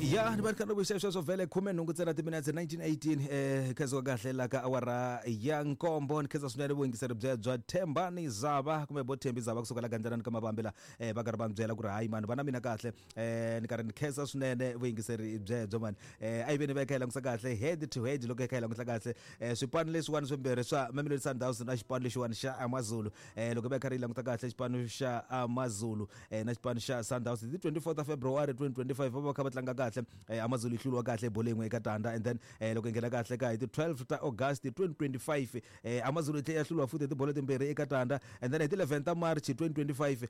Ya ni va ni kha ni vuxa sweswo vhele 18 ntsena timinetse 1918 khensiwa kahle la ka awara ya nkombo. Ni khensa swinene vuyingiseri byebyo Thembani Zava kumbe bo Thembi Zava kusuka la Gandzelani ka Mavambi la va karhi va ni byela ku ri hayi mani va na mina kahle. Ni karhi ni khensa swinene vuyingiseri byebyo mani. A yi ve ni va yi kha yi langutisa kahle head to head loko yi kha yi langutisa kahle swipano leswiwani swimbirhi swa Mamelodi Sundowns na xipano lexiwani xa Amazulu. Loko va yi karhi yi languta kahle xipano xa Amazulu na xipano xa Sundowns hi ti 24 ta February 2025 va va kha va tlanga kahle. Amazulu yi hluriwa kahle hi bolo yin'we eka tanda, and then loko yi nghena kahle ka hi ti 12 ta August 2025 Amazulu yi tlhela ya hluriwa futhi hi tibolo timbirhi eka tanda, and then hi ti 11 ta March 2025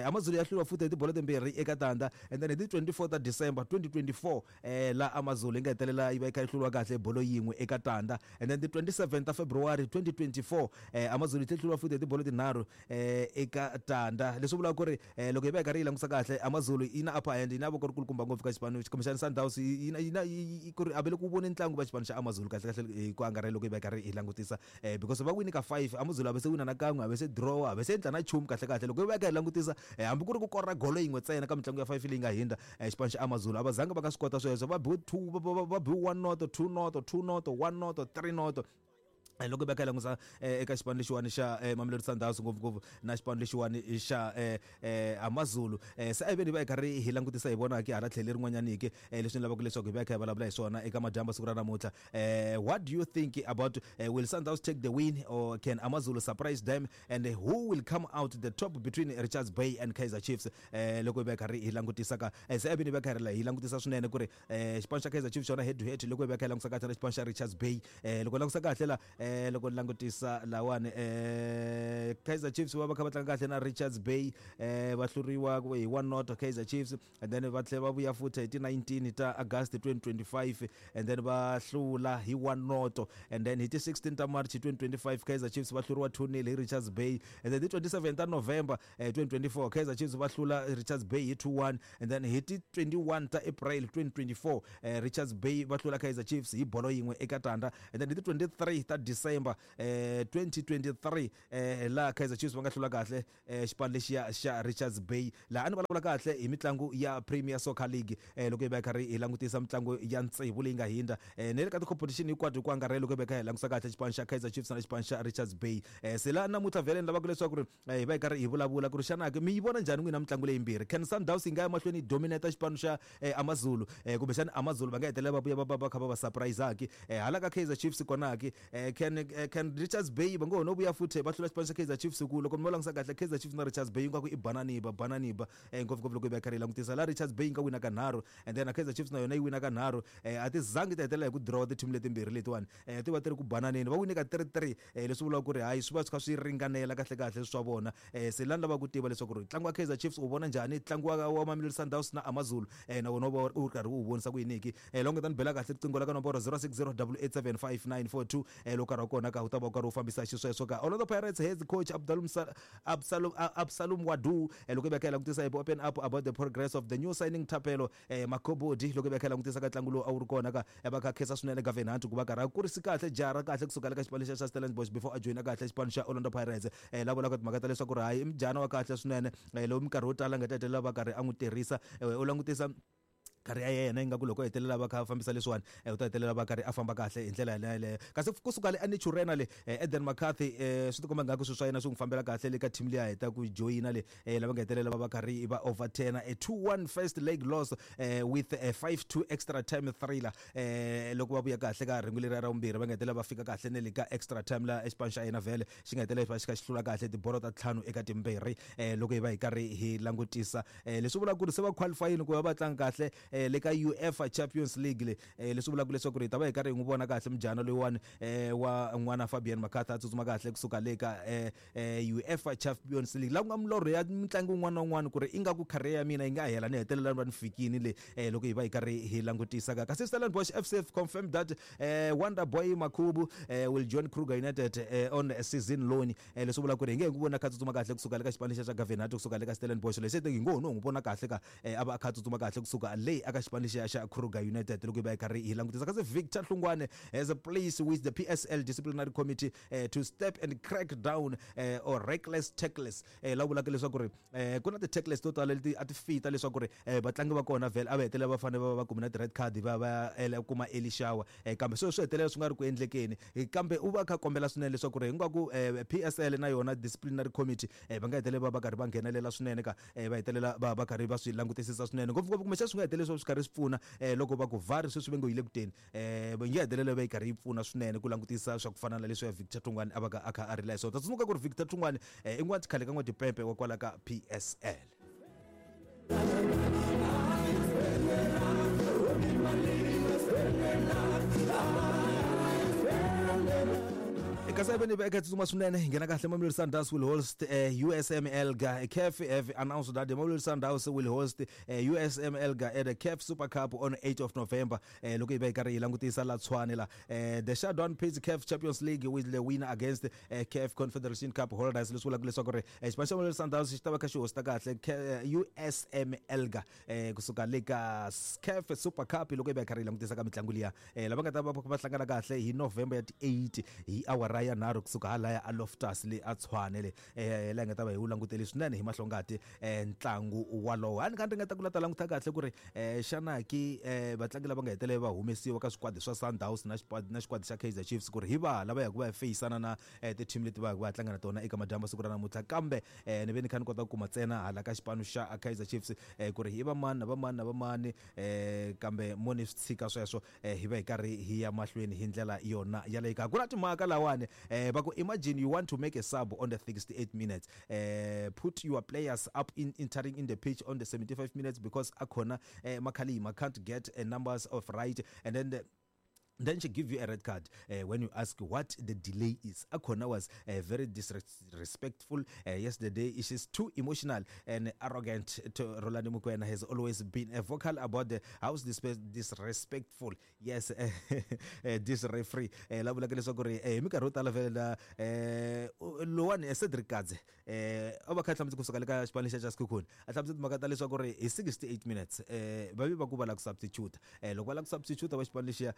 Amazulu ya hluriwa futhi hi tibolo timbirhi eka tanda, and then hi ti 24 ta December 2024 la Amazulu yi nga hetelela yi va yi kha yi hluriwa kahle hi bolo yin'we eka tanda, and then ti 27 ta February 2024 Amazulu yi tlhela yi hluriwa futhi hi tibolo tinharhu eka tanda. Leswi vulaka ku ri loko hi va hi karhi yi langutisa kahle Amazulu yi na upper hand, yi na voko ri kulukumba ngopfu ka xipano kumbexana Sundowns yi na yi na ku ri a va le ku voni ntlangu va xipano xa Amazulu kahle kahle hi ku angarhela loko hi va hi karhi hi langutisa because va wini ka 5, Amazulu a va se wina na kan'we, a va se draw, a va se endla na nchumu kahle kahle. Loko hi va hi kha hi langutisa hambi ku ri ku kora golo yin'we ntsena ka mitlangu ya 5 leyi nga hindza xipano xa Amazulu a va zanga va nga swi kota sweswo. Va biwe 2, va biwe 1 noto, 2 noto, 2 noto, 1 noto, 3 noto. Loko va kha hi langusa eka xipano lexiwani xa Mamelodi Sundowns ngopfungopfu na xipano lexiwani xa Amazulu, se a hi veni hi va hi karhi hi langutisa hi vona ke hala tlhelo lerin'wanyani ke leswi ni lavaka leswaku hi va hi kha hi vulavula hi swona eka madyambu siku ra namuntlha. What do you think about will Sundowns take the win or can Amazulu surprise them, and who will come out the top between Richards Bay and Kaizer Chiefs? Loko hi va hi karhi hi langutisa ka se a hi veni hi va hi karhi hi langutisa swinene ku ri xipano xa Kaizer Chiefs xona head to head loko hi va hi kha hi langutisa kahle na xipano xa Richards Bay. Loko langutisa kahle la loko ni langutisa lawani Kaizer Chiefs va va kha va tlanga kahle na Richards Bay, va hluriwa hi 1 not Kaizer Chiefs, and then va tlhela va vuya futhi hi ti 19 ta August 2025 and then va hlula hi 1 not, and then hi ti 16 ta March 2025 Kaizer Chiefs va hluriwa 2-0 hi Richards Bay, and then ti 27 ta November 2024 Kaizer Chiefs va hlula Richards Bay hi 2-1, and then hi ti 21 ta April 2024 Richards Bay va hlula Kaizer Chiefs hi bolo yin'we eka tanda, and then hi ti 23 ta December 2023 laha Kaizer Chiefs va nga hlula kahle xipano lexiya xa Richards Bay. Laha a ni vulavula kahle hi mitlangu ya Premier Soccer League loko hi va hi karhi hi langutisa mitlangu ya tsevu leyi nga hindza na le ka ti-competition hinkwato hi ku angarhela loko hi va hi kha hi langutisa kahle xipano xa Kaizer Chiefs na xipano xa Richards Bay. Se laha namuntlha vhele ni lavaka leswaku ri hi va hi karhi hi vulavula ku ri xana ke mi yi vona njhani n'wina mitlangu leyimbirhi? Can Sundowns yi nga ya mahlweni yi dominate xipano xa Amazulu, kumbexana Amazulu va nga hetelela va vuya va va va kha va va surprise-aki? Hala ka Kaizer Chiefs kona ke can Richards Bay va ngo ho no vuya futhi va hlula xipano xa Kaizer Chiefs? Ku loko mi va langutisa kahle Kaizer Chiefs na Richards Bay ingaku i bananiba bananiba ngopfungopfu loko hi va hi karhi hi langutisa laha Richards Bay yi nga wina ka nharhu and then na Kaizer Chiefs na yona yi wina ka nharhu. A ti zangi ti hetelela hi ku draw ti-team letimbirhi letiwani, ti va ti ri ku bananeni, va wine ka 3-3, leswi vulaka ku ri hayi swi va swi kha swi ringanela kahle kahle swa vona. Se la ni lavaka ku tiva leswaku ri ntlangu wa Kaizer Chiefs u vona njhani, ntlangu wa Mamelodi Sundowns na Amazulu na wona u va u ri karhi u vonisa ku yini ke. Loko nga ta ni bela kahle riqingho la ka nomboro 0608875942, loko nkarhi wa kona ka u ta va u karhi u fambisa xisweswo ka Orlando Pirates head coach Abdalum Absalom Absalom Wadu. Loko i va kha i langutisa hi open up about the progress of the new signing Thapelo Makobodi loko i va kha i langutisa ka ntlangu lowu a wu ri kona ka va kha khensa swinene Gavin Hunt ku va karhi a kurisi kahle jaha ra kahle kusuka le ka xipano xa xa Stellenbosch before a joyina kahle xipano xa Orlando Pirates. La vulaka timhaka ta leswaku ri hayi i mujana wa kahle swinene lowu minkarhi yo tala nga ta hetelela va karhi a n'wi tirhisa. U langutisa karhi ya yena ingaku loko hetelela va kha va fambisa leswiwani u ta hetelela va karhi a famba kahle hi ndlela yeleyo. Kasi kusuka le eNaturena le Eden McCarthy swi tikomba ngaku swilo swa yena swi n'wi fambela kahle le ka team leyi a heta ku joyina le lava nga hetelela va va karhi va overturn a 2-1 first leg loss with a 5-2 extra time thriller. Loko va vuya kahle ka rhengu leriya ra vumbirhi va nga hetelela va fika kahle ne le ka extra time la xipano xa yena vhele xi nga hetelela xi kha xi hlula kahle tibolo ta ntlhanu eka timbirhi. Loko hi va hi karhi hi langutisa leswi vulaka ku ri se va qualifyini ku va va tlanga kahle le ka UEFA Champions League le, leswi vulaka leswaku ri hi ta va hi karhi hi n'wi vona kahle mujana loyiwani wa n'wana Fabian McCarthy a tsutsuma kahle kusuka le ka UEFA Champions League, la ku nga milorho ya mutlangi wun'wana na wun'wana ku ri ingaku career ya mina yi nga hela ni hetelela ni va ni fikini le. Loko hi va hi karhi hi langutisa ka kasi Stellenbosch FC confirmed that Wonder Boy Makhubu will join Kruger United on a season loan. Leswi vulaka ku ri hi nge hi n'wi vona kha tsutsuma kahle kusuka le ka xipano lexiya xa Gavin Hunt kusuka le ka Stellenbosch, leswi hi ngo ho no n'wi vona kahle ka a va a kha tsutsuma kahle kusuka le. aka xipano lexiya xa Kruger United loko hi va hi karhi hi langutisa. Kasi Victor Hlungwane has a place with the PSL disciplinary committee to step and crack down or reckless tackles. La vulaka leswaku ri ku na ti-tackles to tala leti a ti fita leswaku ri vatlangi va kona vhele a va hetelela va fanele va va kume na ti-red card va va kuma early shower, kambe sweswo swi hetelela swi nga ri ku endlekeni. Kambe u va a kha a kombela swinene leswaku ri hinkwako PSL na yona disciplinary committee va nga hetelela va va karhi va nghenelela swinene ka va hetelela va va karhi va swi langutisisa swinene, ngopfungopfu kumbexana swi nga hetelela swi karhi swi pfuna loko va ku VAR sweswi va ngo yi le ku teni, va nge hetelela va yi karhi yi pfuna swinene ku langutisa swa ku fana na leswi ya Victor Thungwane a va ka a kha a rila hi swona. Ta tsundzuka ku ri Victor Thungwane i n'wana khale ka n'watipempe wa kwala ka PSL. Kasi a va eka tsutsuma swinene hi nghena kahle. Mamelodi Sundowns will host USM Alger. CAF have announced that the Mamelodi Sundowns will host USM Alger at the CAF Super Cup on 8 of November. Loko hi va hi karhi hi langutisa la Tshwane la, the shutdown pits CAF Champions League with the winner against CAF Confederation Cup holders. Leswi vulaka leswaku ri xipano xa Mamelodi Sundowns xi ta va kha xi hosta kahle USM Alger kusuka le ka CAF Super Cup. Loko hi va hi karhi hi langutisa ka mitlangu liya, lava nga ta va va hlangana kahle hi November ya ti 8 hi awara ya 3 kusuka halaya a Loftus le a Tshwane le, laha hi nga ta va hi wu langutele swinene hi mahlongati ntlangu walowo. A ni kha ni ringeta ku la ta languta kahle ku ri xana ki vatlangi lava nga hetelela va humesiwa ka swikwadi swa Sundowns na xikwadi na xikwadi xa Kaizer Chiefs ku ri hi va lava yaka va ya feyisana na ti-team leti va yaka va ya tlanga na tona eka madyambu siku ra namuntlha, kambe ni ve ni kha ni kota ku kuma ntsena hala ka xipano xa Kaizer Chiefs ku ri hi va mani na va mani na va mani, kambe mo ni swi tshika sweswo, hi va hi karhi hi ya mahlweni hi ndlela yona yaleyo. Ka ku na timhaka lawani, va ku imagine you want to make a sub on the 68 minutes, put your players up in entering in the pitch on the 75 minutes because akhona Makhalima can't get a numbers of right, and then then she give you a red card when you ask what the delay is. Akhona was very disrespectful yesterday. She's too emotional and arrogant to Rolani Mukwena has always been a vocal about the house disrespectful. Yes, this referee. La vulaka leswaku ri hi minkarhi yo tala vhele la lowani Cedric Kadze a va kha hlamusela kusuka le ka xipano lexiya xa Sekhukhune, a hlamusela timhaka ta leswaku ri hi 68 minutes va ve va ku va lava ku substitute, loko va lava ku substitute va xipano lexiya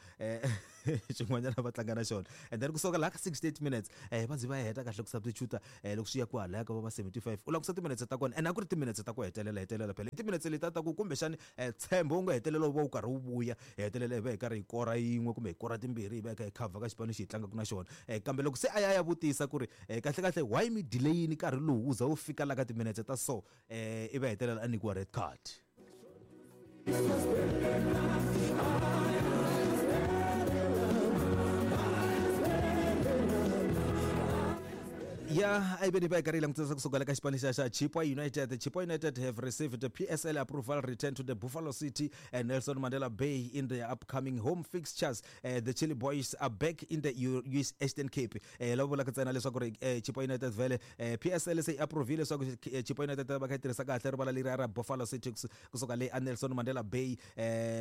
xin'wanyana va tlanga na xona, and then kusuka laha ka 68 minutes va ze va heta kahle ku substitute, loko swi ya kwalaya ka va 75 u langusa timinetse ta kona, and a ku ri timinetse ta ku hetelela hetelela phela i timinetse letiya ta ku kumbexani ntshembo wu nga hetelela wu va wu karhi wu vuya, hi hetelela hi va hi karhi hi kora yin'we kumbe hi kora timbirhi, hi va hi kha hi cover ka xipano lexi hi tlangaka na xona, kambe loko se a ya a ya vutisa ku ri kahle kahle why mi delay-ini nkarhi lowu wu za wu fika la ka timinetse ta so, i va hetelela a nyikiwa red card. Ya a yi ve ni va yi karhi yi langutisa kusuka le ka xipano xa xa Chippa United. Chippa United have received the PSL approval return to the Buffalo City and Nelson Mandela Bay in their upcoming home fixtures. The Chili Boys are back in the US Eastern Cape. Lava vulaka ntsena leswaku ri Chippa United vhele PSL se yi approvile leswaku Chippa United va kha yi tirhisa kahle rivala leriya ra Buffalo City kusuka le a Nelson Mandela Bay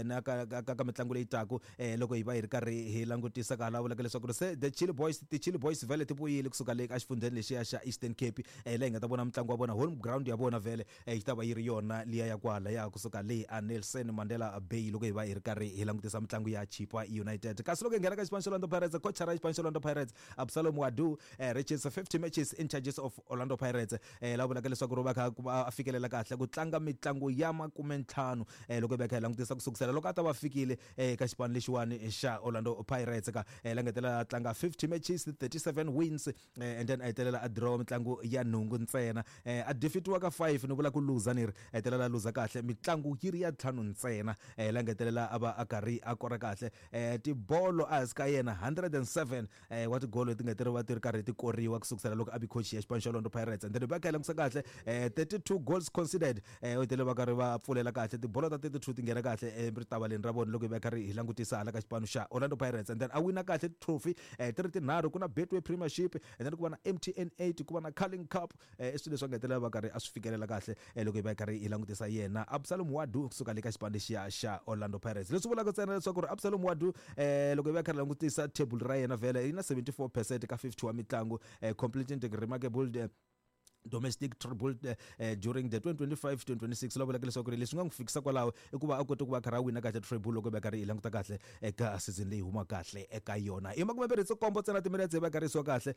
na ka ka ka mitlangu leyi taku, loko hi va hi ri karhi hi langutisa ka hala vulaka leswaku ri se the Chili Boys, ti Chili Boys vhele ti vuyile kusuka le ka xifundzheni lexiya xa Eastern Cape, laha hi nga ta vona mitlangu wa vona, home ground ya vona vhele yi ta va yi ri yona liya ya kwala ya kusuka le a Nelson Mandela Bay loko hi va hi ri karhi hi langutisa mitlangu ya Chippa United. Kasi loko hi nghena ka xipano xa Orlando Pirates, coach ra xipano xa Orlando Pirates Absalom Wadu reaches 50 matches in charges of Orlando Pirates, la vulaka leswaku ri va kha a fikelela kahle ku tlanga mitlangu ya 50, loko hi va kha hi langutisa ku sukusela loko a ta va fikile eka xipano lexiwani xa Orlando Pirates ka la nga hetelela a tlanga 50 matches, 37 wins, and then a hetelela a draw mitlangu ya nhungu ntsena, a defeatiwa ka 5, ni vula ku luza ni ri a hetelela a luza kahle mitlangu yi ri ya ntlhanu ntsena, la nga hetelela a va a karhi a kora kahle tibolo a hansi ka yena 107 wa tigolo leti nga ti ri va ti ri karhi ti koriwa ku sukusela loko a vi coach ya xipano xa Orlando Pirates, and then va kha hi langutisa kahle 32 goals conceded, u hetelele va karhi va pfulela kahle tibolo ta 32 ti nghena kahle eritavaleni ra vona loko hi va karhi hi langutisa hala ka xipano xa Orlando Pirates, and then a wina kahle trophy ti ri tinharhu, ku na Betway Premiership and then ku va na MTN 8, ku va na Carling Cup, i swilo leswi a nga hetelela va karhi a swi fikelela kahle, loko hi va hi karhi hi langutisa yena Absalom Wadu kusuka le ka xipano lexiya xa Orlando Pirates. Leswi vulaka ntsena leswaku ri Absalom Wadu, loko hi va hi karhi langutisa table ra yena vhele yi na 74% ka 50 wa mitlangu, completing the remarkable Domestic treble during the 2025-2026. La vulaka leswaku ri leswi nga n'wi fikisa kwalaho i ku va a kote ku va a karhi a wina kahle treble loko va karhi hi languta kahle eka season leyi huma kahle eka yona. I makumembirhi nkombo ntsena timinetse va karhi yisiwa kahle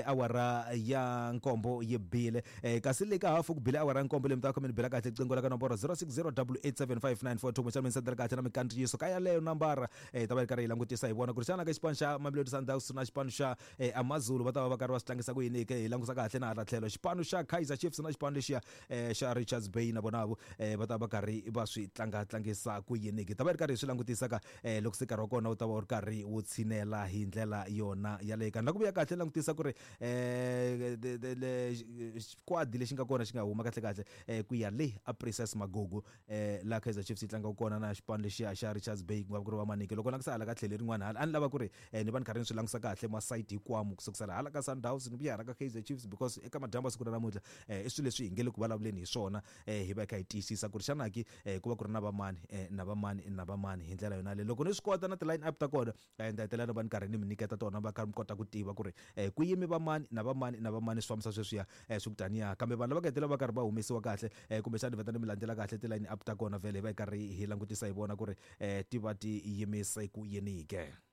awara ya nkombo yi bile, kasi le ka hafu ku bile awara ya nkombo leyi mi ta va kha mi ni bela kahle riqingho la ka nomboro 0608875942, kumbexana mi ni sendela kahle na mikandziyiso ka yaleyo nambara. Hi ta va hi karhi hi langutisa hi vona ku ri xana ka xipano xa Mamelodi Sundowns na xipano xa Amazulu va ta va va karhi va swi tlangisa ku yini ke. Hi langusa kahle na hala tlhelo xipano xa Kaizer Chiefs na xipano lexiya xa Richards Bay na vona va ta va karhi va swi tlanga tlangisa ku yini ke. Ta va hi ri karhi hi swi langutisa ka loko se nkarhi wa kona wu ta va wu ri karhi wu tshinela hi ndlela yona yaleyo. Ka ni la ku vuya kahle langutisa ku ri xikwadi lexi nga kona xi nga huma kahle kahle ku ya le a Princess Magugu, laha Kaizer Chiefs yi tlangaka kona na xipano lexiya xa Richards Bay, ku nga va ku ri va Manike. Loko langutisa hala ka tlhelo lerin'wana hala, a ni lava ku ri ni va ni karhi ni swi langutisa kahle masayiti hinkwamu, ku sukusela hala ka Sundowns ni vuya hala ka Kaizer Chiefs, because eka madyambu ya siku ra namuntlha i swilo leswi hi nge le ku vulavuleni hi swona, hi va hi kha hi tiyisisa ku ri xana ki ku va ku ri na vamani na vamani na vamani hi ndlela yona leyi. Loko ni swi kota na ti-line up ta kona, ni ta hetelela ni va ni karhi ni mi nyiketa tona, va karhi mi kota ku tiva ku ri ku yimi vamani na vamani na vamani, swi fambisa sweswiya swi ku taniya. Kambe vanhu lava nga hetelela va karhi va humesiwa kahle, kumbexana ni vheta ni mi landzela kahle ti-line up ta kona, vhele hi va hi karhi hi langutisa hi vona ku ri ti va ti yimise ku yini ke.